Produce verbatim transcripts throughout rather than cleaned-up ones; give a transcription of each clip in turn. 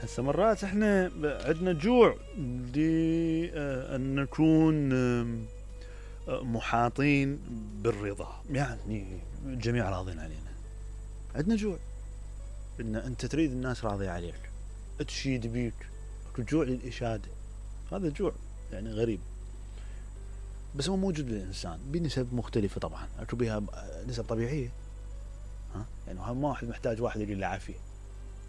هسه مرات احنا عندنا جوع لأن نكون محاطين بالرضا، يعني الجميع راضين علينا. عندنا جوع ان انت تريد الناس راضية عليك، تشيد بيك، جوع للإشادة. هذا جوع يعني غريب، بس هو موجود للإنسان بنسب مختلفة طبعا، اكو بها نسب طبيعية. ها يعني هم واحد محتاج واحد يقول له عافية،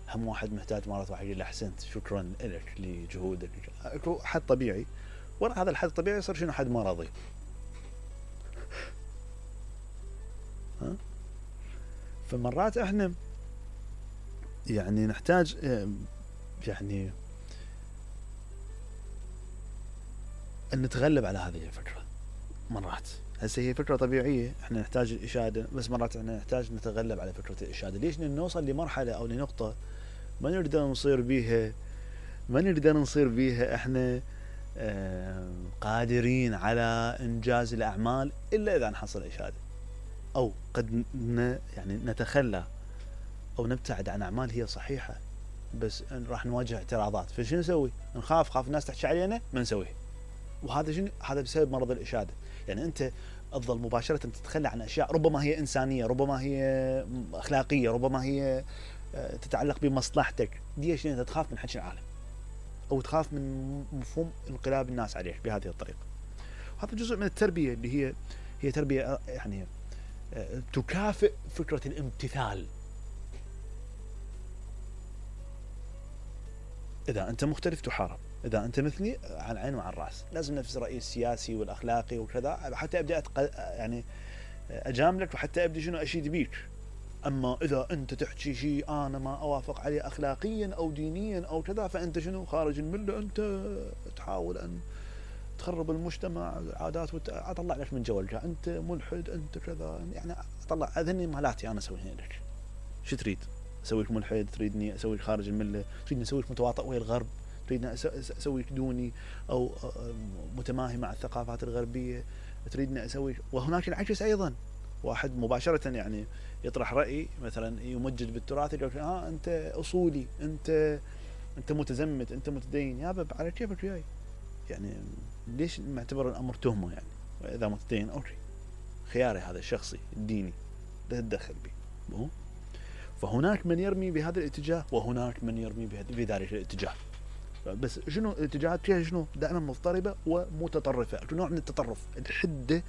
هم واحد محتاج مرات واحد يقول له احسنت شكرا لك لجهودك. اكو حد طبيعي، ورا هذا الحد الطبيعي يصير شنو؟ حد مرضي. ها فمرات احنا يعني نحتاج يعني ان نتغلب على هذه الفكرة. مرات هسه هي فكرة طبيعية، احنا نحتاج الإشادة، بس مرات احنا نحتاج نتغلب على فكرة الإشادة. ليش؟ لأن نوصل لمرحلة او لنقطة ما نقدر نصير بيها ما نقدر نصير بيها احنا قادرين على انجاز الاعمال الا اذا نحصل إشادة، او قد يعني نتخلى او نبتعد عن اعمال هي صحيحة بس راح نواجه اعتراضات. فشو نسوي؟ نخاف خاف الناس تحكي علينا ما نسويه. وهذا شنو؟ هذا بسبب مرض الإشادة. يعني انت تظل مباشرة تتخلى عن اشياء ربما هي انسانية، ربما هي اخلاقية، ربما هي تتعلق بمصلحتك. ليش؟ انت تخاف من حكي العالم او تخاف من مفهوم انقلاب الناس عليك بهذه الطريقة. هذا جزء من التربية اللي هي هي تربية يعني تكافئ فكرة الامتثال. إذا أنت مختلف تحارب، إذا أنت مثلي على العين وعلى الرأس. لازم نفس الرأي السياسي والأخلاقي وكذا حتى أبدأ أتق... يعني أجاملك وحتى أبدأ شنو أشيد بيك. أما إذا أنت تحكي شيء أنا ما أوافق عليه أخلاقيا أو دينيا أو كذا فأنت شنو؟ خارج الملة، أنت تحاول أن تخرب المجتمع، العادات وت... أطلع لك من جولك، أنت ملحد، أنت كذا. يعني أطلع هذني مالاتي أنا أسويها لك. شو تريد؟ أسويك ملحد؟ تريدني أسويك خارج الملة؟ تريدني أسويك متواطئ ويا الغرب؟ تريدني أسويك دوني أو متماهي مع الثقافات الغربية؟ تريدني أسويك. وهناك العكس أيضا، واحد مباشرة يعني يطرح رأي مثلا يمجد بالتراث، يقول ها أنت أصولي، أنت أنت متزمت، أنت متدين. يا باب على كيفك وياي؟ يعني ليش معتبر الأمر تهمة؟ يعني إذا متدين أوكي، خياري هذا الشخصي الديني لا تتدخل به. فهناك من يرمي بهذا الاتجاه وهناك من يرمي بذلك الاتجاه. بس شنو الاتجاهات فيها؟ شنو؟ دائما مضطربة ومتطرفة. نوع من التطرف، الحدة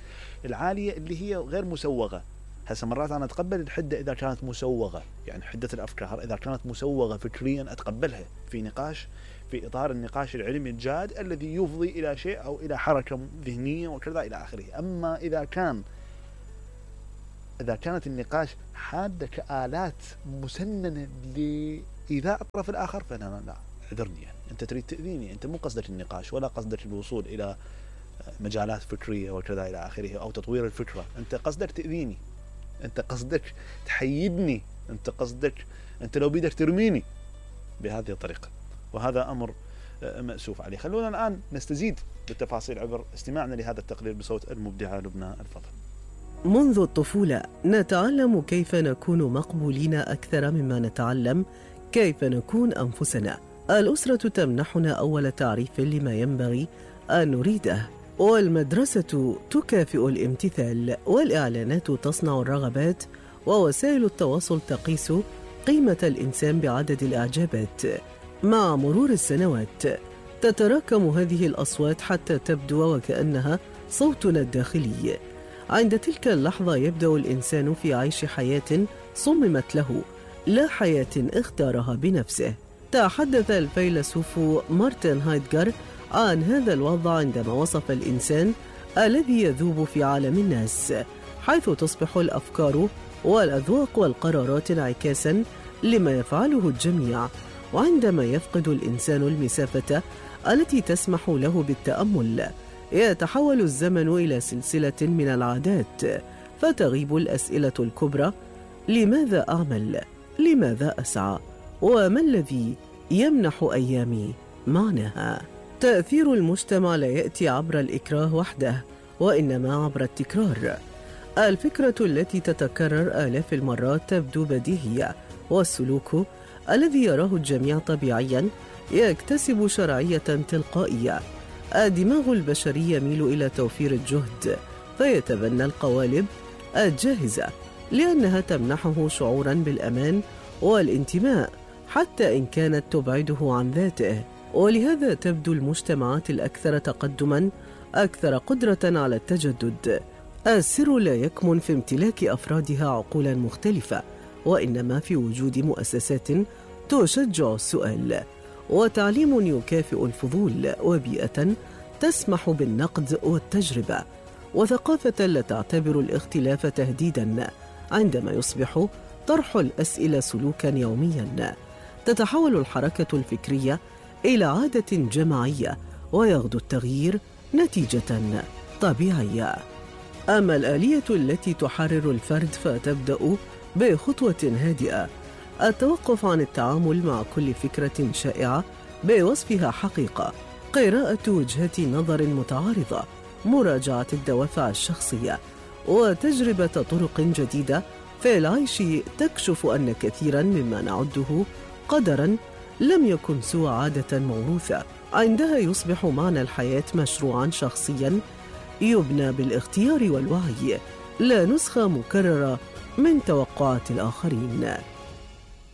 العالية اللي هي غير مسوغة. هسه مرات أنا أتقبل الحدة إذا كانت مسوغة، يعني حدة الأفكار إذا كانت مسوغة فكريا أتقبلها في نقاش، في إطار النقاش العلمي الجاد الذي يفضي إلى شيء أو إلى حركة ذهنية وكذا إلى آخره. أما إذا كان إذا كانت النقاش حادة كآلات مسننة لإيذاء الطرف الآخر فأنا لا، اعذرني، يعني أنت تريد تأذيني، أنت مو قصدك النقاش ولا قصدك الوصول إلى مجالات فكرية وكذا إلى آخره أو تطوير الفكرة. أنت قصدك تأذيني، أنت قصدك تحيدني، أنت قصدك أنت لو بيدك ترميني بهذه الطريقة. وهذا أمر مأسوف عليه. خلونا الآن نستزيد بالتفاصيل عبر استماعنا لهذا التقرير بصوت المبدعة لبنى الفضل. منذ الطفولة نتعلم كيف نكون مقبولين أكثر مما نتعلم كيف نكون أنفسنا. الأسرة تمنحنا أول تعريف لما ينبغي أن نريده، والمدرسة تكافئ الامتثال، والإعلانات تصنع الرغبات، ووسائل التواصل تقيس قيمة الإنسان بعدد الإعجابات. مع مرور السنوات تتراكم هذه الأصوات حتى تبدو وكأنها صوتنا الداخلي. عند تلك اللحظة يبدأ الإنسان في عيش حياة صممت له، لا حياة اختارها بنفسه. تحدث الفيلسوف مارتن هايدغر عن هذا الوضع عندما وصف الإنسان الذي يذوب في عالم الناس، حيث تصبح الأفكار والأذواق والقرارات انعكاسا لما يفعله الجميع. وعندما يفقد الإنسان المسافة التي تسمح له بالتأمل يتحول الزمن إلى سلسلة من العادات، فتغيب الأسئلة الكبرى: لماذا أعمل؟ لماذا أسعى؟ وما الذي يمنح أيامي معناها؟ تأثير المجتمع لا يأتي عبر الإكراه وحده، وإنما عبر التكرار. الفكرة التي تتكرر آلاف المرات تبدو بديهية، والسلوك الذي يراه الجميع طبيعيا يكتسب شرعية تلقائية. الدماغ البشري يميل إلى توفير الجهد فيتبنى القوالب الجاهزة لأنها تمنحه شعورا بالأمان والانتماء حتى إن كانت تبعده عن ذاته. ولهذا تبدو المجتمعات الأكثر تقدما أكثر قدرة على التجدد. السر لا يكمن في امتلاك أفرادها عقولا مختلفة، وإنما في وجود مؤسسات تشجع السؤال، وتعليم يكافئ الفضول، وبيئة تسمح بالنقد والتجربة، وثقافة لا تعتبر الاختلاف تهديدا عندما يصبح طرح الأسئلة سلوكا يوميا. تتحول الحركة الفكرية إلى عادة جماعية، ويغدو التغيير نتيجة طبيعية. أما الآلية التي تحرر الفرد فتبدأ بخطوة هادئة: التوقف عن التعامل مع كل فكرة شائعة بوصفها حقيقة، قراءة وجهات نظر متعارضة، مراجعة الدوافع الشخصية، وتجربة طرق جديدة في العيش تكشف أن كثيرا مما نعده قدرا لم يكن سوى عادة موروثة. عندها يصبح معنى الحياة مشروعا شخصيا يبنى بالاختيار والوعي، لا نسخة مكررة من توقعات الآخرين.